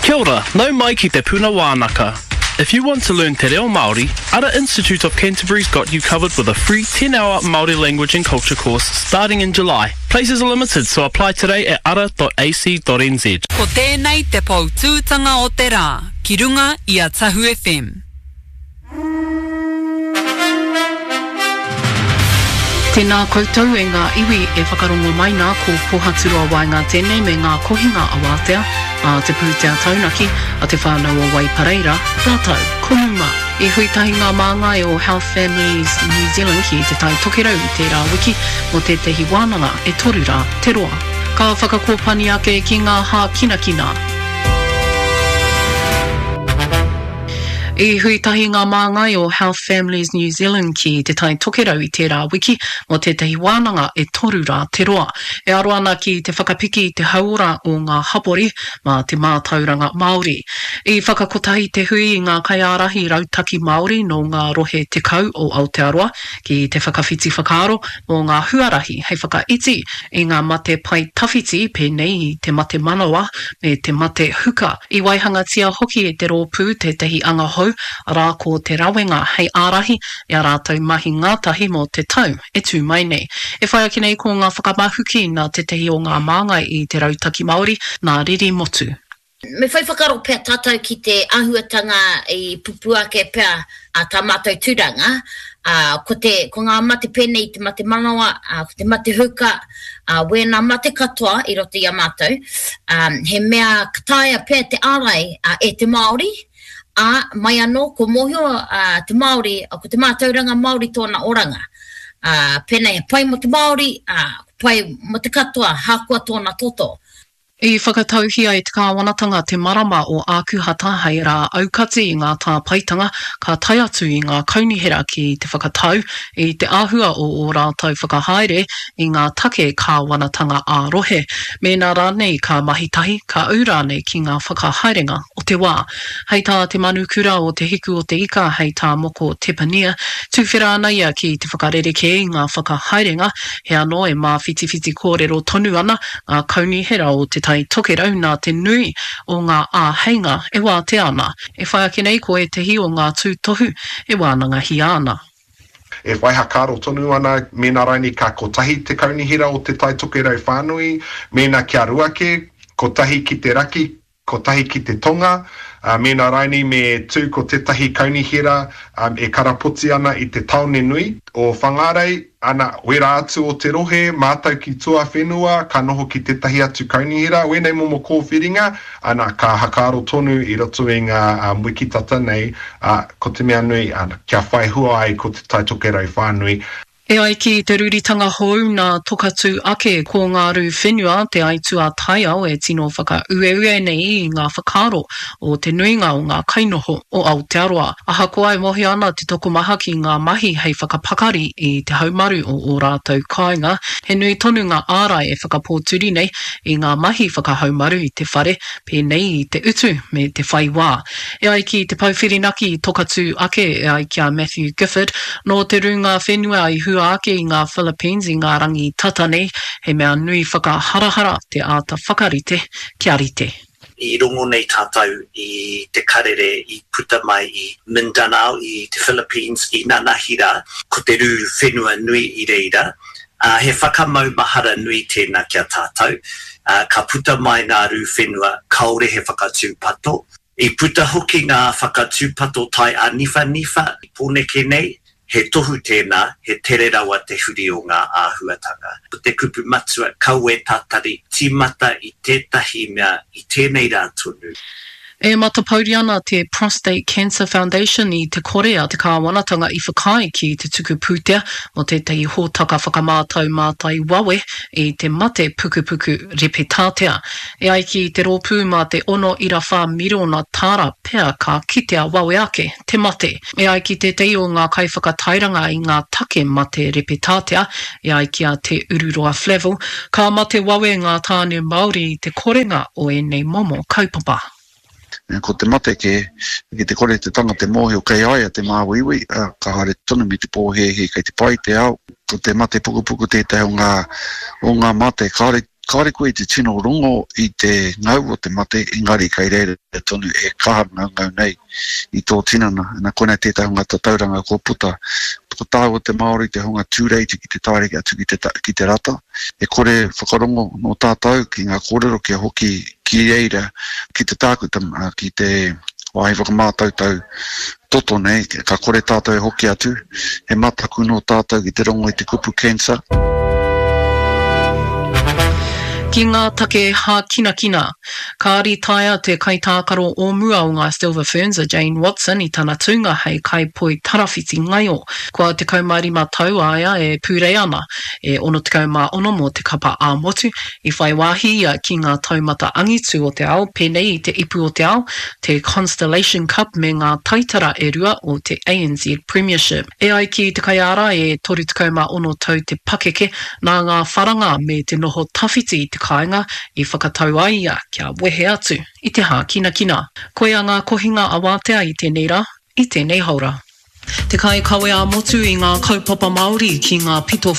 Kia ora, nau mai ki Te Puna Wānaka. If you want to learn Te Reo Māori, Ara Institute of Canterbury's got you covered with a free 10-hour Māori language and culture course starting in July. Places are limited, so apply today at ara.ac.nz. Ko tēnei te poutūtanga o te rā ki runga i a Tahu FM. Tēnā koutou e ngā iwi e whakarongo mai nā ko Pohaturoa Waenga tēnei me ngā kohinga awātea a Te Pūtea Taunaki a Te Whānau o Waipareira rātou ko Muma. I hui tahi ngā māngai o Health Families New Zealand ki Te Tai Tokerau i tērā wiki mō tētahi wānanga e toru rā te roa. Ka whakakōpani ake ki ngā hākinakina. I hui tahi ngā māngai o Health Families New Zealand ki Te Tai Tokerau i tērā wiki mō tētahi wānanga e toru rā te roa. E aro ana ki te whakapiki i te hauora o ngā hapori mā te mātauranga Māori. I whakakotahi te hui i ngā kaiārahi rautaki Māori nō ngā rohe 10 o Aotearoa ki te whakawhiti whakaaro mō ngā huarahi hei whakaiti i ngā mate pae tawhiti pēnei i te mate manawa me te mate huka. I waihangatia hoki e te rōpū tētahi anga hou, arā ko Te Rawenga hei ārahi i ā rātou mahi ngātahi mō te tau e tū mai nei. E whai ake nei ko ngā whakamahuki nā tētahi o ngā māngai i te Rautaki Māori, nā Riri Motu. Me whai whakaaro pea tātou ki te āhuatanga i pupū ake pea a tā mātou tūranga, ā, ko te, ko ngā mate pēnei i te mate manawa, ā, ko te mate huka, ā, wēnā mate katoa i roto i a mātou, ā, he mea ka taea pea te ārai, ā, e te Māori, ā, mai anō, kua mōhio, ā, te Māori, ko te mātauranga Māori tōna oranga. Ā, pēnei he pai mō te Māori, ā, pai mō te katoa, hākoa tōna toto. I whakatauhia e te kāwanatanga te marama o Ākuhata hei rā aukati i ngā tāpaetanga ka tae atu i ngā kaunihera ki te whakatau i te āhua o ō rātou whakahaere i ngā take kāwanatanga ā-rohe, mēnā rānei ka mahi tahi, ka ū rānei ki ngā whakahaerenga o te wā. Hei tā te manukura o Te Hiku o te Ika, hei tā Moko Tepania, tuwhera ana ia ki te whakarerekē i ngā whakahaerenga, he anō e māwhitiwhiti kōrero tonu ana ngā kaunihera o Te Tai Tokerau nā te nui o ngā āheinga e wātea ana. E whai ake nei ko ētehi o ngā tūtohu e wānangahia ana. E whai hakaaro tonu ana mēnā rainī ka kotahi te kaunihera o Te Tai Tokerau whānui, mēnā kia rua kē, kotahi ki te raki, kotahi ki te tonga, ā, mēnā rainī me tū ko tētahi kaunihera e karapoti ana i te tāone nui o Whangārei, ana, wērā atu o te rohe, mātau ki tuawhenua, ka noho ki tētahi atu kaunihera, wēnei momo kōwhiringa, ana, ka hakaaro tonu i roto i ngā wiki tata nei, ā, ko te mea nui, ana, kia whai hua ai ko Te Tai Tokerau whānui. E ai ki te ruritanga hou nā Tokatū ake, ko ngā rū whenua te aituā taiao e tino whakaueue nei i ngā whakaaro o te nuinga o ngā kainoho o Aotearoa. Ahakoa e mōhio ana te tokomaha ki ngā mahi hei whakapakari i te haumaru o ō rātou kāinga, he nui tonu ngā ārai e whakapōturi nei i ngā mahi whakahaumaru i te whare, pēnei i te utu me te whai wā. E ai ki te pou whirinaki i Tokatū ake, e ai ki a Matthew Gifford, nō te rūnga whenua i hua ake i ngā Philippines i ngā rangi tata nei, he mea nui whakaharahara te āta whakarite kia rite. I rongo nei tātou i te karere i puta mai i Mindanao i te Philippines i nanahi rā, ko te rū whenua nui i reira, ā, he whakamaumahara nui tēnā ki a tātou, ā, ka puta mai ngā rū whenua kāore he whakatūpato. I puta hoki ngā whakatūpato tai āniwhaniwha i Pōneke nei, he tohu tēnā, he tere rawa te huri o ngā āhuatanga. Ko te kupu matua, kaua e tatari, tīmata i tētahi mea i tēnei rā tonu. E matapouri ana te Prostate Cancer Foundation i te kore a te kāwanatanga i whakaae ki te tuku pūtea mō tētahi hōtaka whakamātau mātai wawe i te mate pukupuku repetātea. E ai ki te rōpū mā te 6.4 miriona tāra pea ka kitea wawe ake te mate. E ai ki tētahi o ngā kaiwhakatairanga i ngā take mate repetātea, e ai ki a Te Ururoa Flavell, ka mate wawe ngā tāne Māori i te korenga o ēnei momo kaupapa. Ko te mate kē, ki te kore te tangata e mōhio kei a ia te māuiui, ā, ka haere tonu me te pōhēhē kei te pai te ao. Ko te mate pukupuku tētahi o ngā, o ngā mate kāore. Kāore koe i te tino rongo i te ngau o te mate, engari kei reira tonu e kaha ngaungau nei i tō tinana. Na, koinei tētahi o ngā tatauranga kua puta. Ko tāua te Māori te hunga tūreiti ki te taere atu ki te, ki te rata. E kore whakarongo nō tātou ki ngā kōrero kia hoki ki reira, ki te tākuta, ki te wāhi whakamātautau toto nei, ka kore tātou e hoki atu, he mataku nō tātou ki te rongo i te kupu cancer. Ki ngā take hākinakina. Ka ritaea te kaitākaro o mua o ngā Silver Ferns a Jane Watson i tana tūnga hei kaipoi tarawhiti ngaio. Kua 15 tau a ia e pūrei ana, e 66 mō te kapa ā-motu, I whai wāhi ia ki ngā taumata angitu o te ao pēnei i te Ipu o te Ao, te Constellation Cup me ngā taitara e rua o te ANZ Premiership. E ai ki te kaiārai e 36 tau te pakeke, nā ngā wharanga me te noho tawhiti i te kāinga i whakatau ai ia kia wehe atu i te hākinakina. Koia ngā kohinga awātea i tēnei rā, i tēnei haora. Te kaikawe ā-motu i ngā kaupapa Māori ki ngā pito.